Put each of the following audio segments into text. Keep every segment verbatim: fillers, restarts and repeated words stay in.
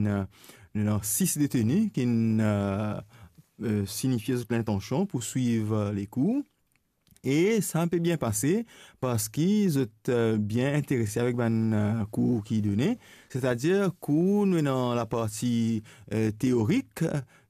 Ena, ena sis deteni ki'nn, eh, eh, sinifie zot lintansion pou swiv, eh, lekour. E sa pe bien pase parski zot, eh, bien interese avek bann, eh, kour ki done, setadir kour nou ena laparti, eh, teorik,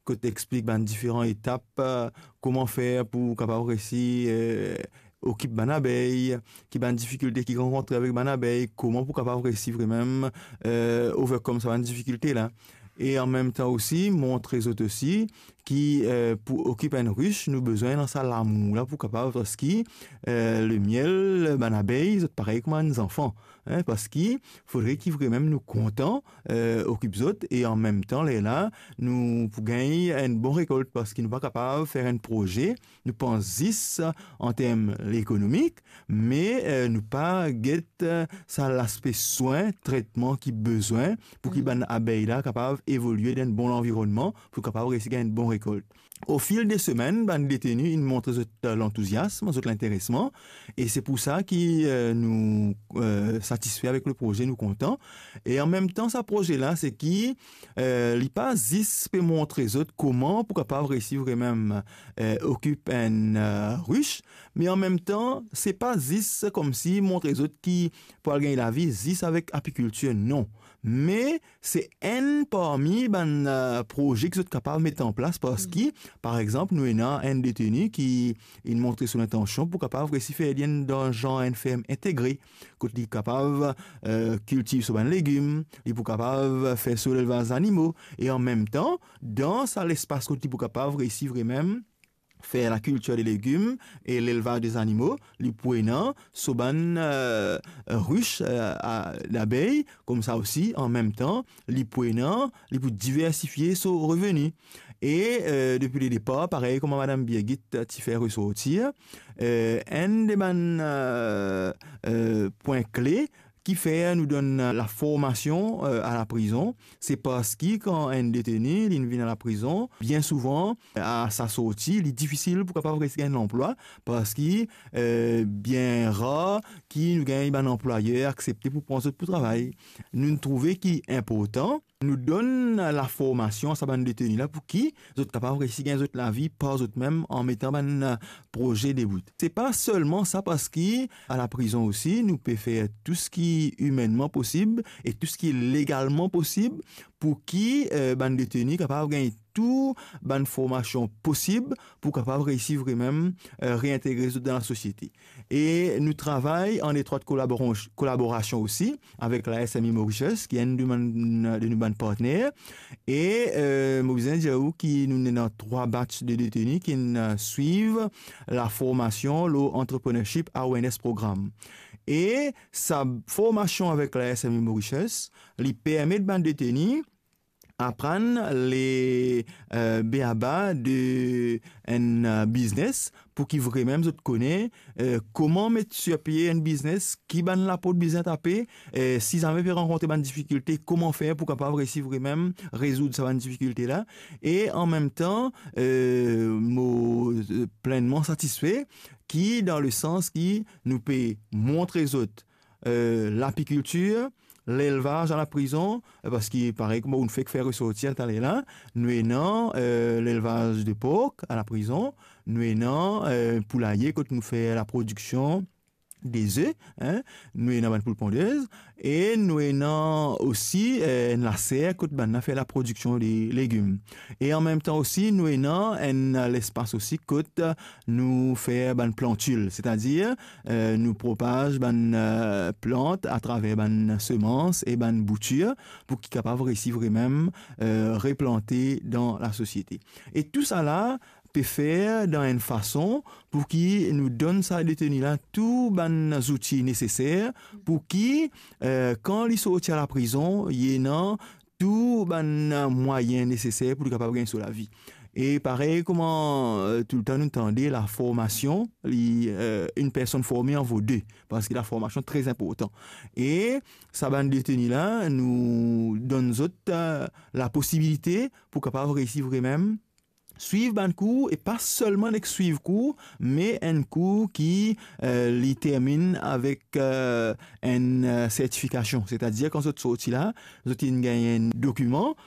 kot explik bann diferan etap, eh, kouma fer pou kapav resi, eh, okip bann abey, ki bann difikilte ki rankontre avek bann abey, kouma pou kapav resi vremem, eh, overcome sa bann difikilte la. E an mem tan osi, montre zot osi ki, eh, pou okip enn ris, nou bizin ena sa lamour la pou kapav, parski, eh, lemiel, bann abey, zot parey kouma enn zanfan, hein, parski fodre ki vremem nou kontan, eh, okip zot, e an mem tan, lerla, nou pou gagn enn bon rekolt, parski nou pa kapav fer enn proze, nou pans zis an term ekonomik, me, eh, nou pa get, eh, sa laspe swin, tretman ki bizin pou ki bann abey la kapav evolie dan enn bon lanvironnman, pou kapav resi gagn enn bon rekolt. Ofil de semenn, bann deteni inn montre zot, eh, lantouziasm, zot linteresman, e se pou sa ki, eh, nou, eh, satisfe avek le proze, nou kontan. E an mem tan, sa proze la, se ki, eh, li pa zis pe montre zot kouma pou kapav resi vremem, eh, okip enn, eh, ris, me an mem tan, se pa zis koumsi montre zot ki pou al gagn lavi zis avek apikiltir, non. Me se enn parmi bann, eh, proze ki zot kapav met an plas, parski, par exanp, nou ena enn deteni ki inn montre so lintansion pou kapav resi fer li enn dan zan enn ferm integre, kot li kapav, eh, kiltiv so bann legim, li pou kapav fer so lelvaz zanimo, e an mem tan, dan sa lespas kot li pou kapav resi vremem fer lakiltir de legim e lelvaz de zanimo, li pou ena so bann, eh, ris, eh, a, labey, koumsa osi, an mem tan, li pou ena, li pou diversifie so reveni. E, eh, depi le depar, parey kouma Madam Birgit ti fer resorti, eh, enn de bann, eh, eh, pwin kle ki fer nou donn laformasion, eh, a laprizon, se parski kan enn deteni, li vinn a laprizon, bien souvan, a sa sorti, li difisil pou kapav resi gagn lanplwa, parski, eh, bien rar ki nou gagn bann anplwayer aksepte pou pran zot pou travay. Nou'nn trouve ki inportan nou donn laformasion a sa bann deteni la pou ki zot kapav resi gagn zot lavi par zot mem an metan bann, eh, proze debout. Se pa selman sa, parski a laprizon osi, nou pe fer tou seki imennman posib e tou seki legalman posib pou ki, eh, bann deteni kapav gagn tou bann formasion posib pou kapav resi vremem, eh, reintegre zot dan lasosiete. E nou travay an etrwat kolabora-, kolaborasion osi avek la S M E Mauritius, ki enn de bann, de nou bann partner. E, eh, mo bizin dir ou ki nou ena trwa batch de deteni ki'nn, eh, swiv laformasion lor Entrepreneurship Awareness Program. E sa formasion avek la S M E Mauritius, li permet bann deteni aprann le, eh, beaba de enn, eh, biznes, pou ki vremem zot kone, eh, kouma met sir pie enn biznes, ki bann laport bizin tape, eh, si zame pe rankontre bann difikilte, kouma fer pou kapav resi vremem rezoud sa bann difikilte la. E an mem tan, eh, mo, eh, plennman satisfe ki dan le sans ki nou pe montre zot, eh, lapikiltir, lelvaz a laprizon, eh, parski parey kouma ou'nn fek fer resorti taler la, nou ena, eh, lelvaz de pork a laprizon, nou ena, eh, poulaye kot nou fer laprodiksion de ze, hein, nou ena bann poul pondez, e nou ena osi, eh, enn laser kot bann la fer laprodiksion de legim. E an mem tan osi, nou ena enn lespas osi kot nou fer bann plantil, setadir, eh, nou propaz bann, eh, plant atraver bann semans e bann boutir pou ki kapav resi vremem, eh, replante dan lasosiete. E tousala pe fer dan enn fason pou ki nou donn sa deteni la tou bann zouti neseser pou ki, eh, kan li sorti a laprizon, li ena tou bann mwayin neseser pou li kapav gagn so lavi. E parey kouma, eh, toultan nou tande, laformasion, li, eh, une personne formée en vaut deux, parski laformasion tre inportan. E sa bann deteni la, nou donn zot, eh, laposibilite pou kapav resi vremem swiv bann kour, e pa selman nek swiv kour, me enn kour ki, eh, li terminn avek, eh, enn, eh, sertifikasion. Setadir kan zot sorti la, zot inn gagn enn dokiman